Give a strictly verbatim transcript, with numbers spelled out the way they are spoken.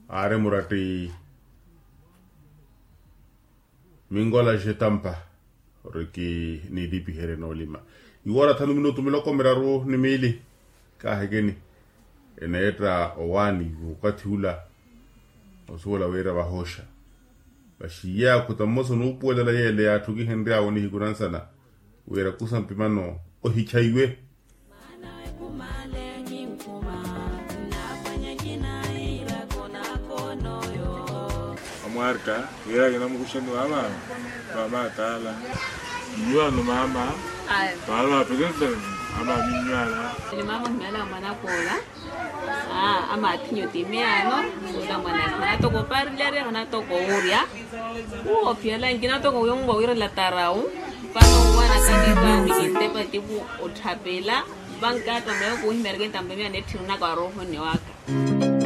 Aari muratti minkola xetampa ori kiniitipiherye noolima. Iwoora thanu minutu miloko miraru ni miili kaahekeni eneetta owaani okathi ula osuwela wira vahooxa. Vaxiiye akhuta mmosa onuupuwelela yeele yaatthukihenry'awe nihiku nansana wira kusa mpimano ohichaiwe. Amwarta wira kinamukuxeni mama. Mama ataala. Nywano mama. Mama apekentene. Mama minywala. Ni mama ohimeela mwanakoola. Ama athinyu ti miyano. Ula mwanaka hanatoko oparilerya hanatoko owurya. Uwo ophiyala nkina toko wiyonwa wira latarawu. Vano owana kanirwa mikintepa tipu otthapela. Vankata meyo kuhimeerya kintampa miyano etthirunaka warohoni waka.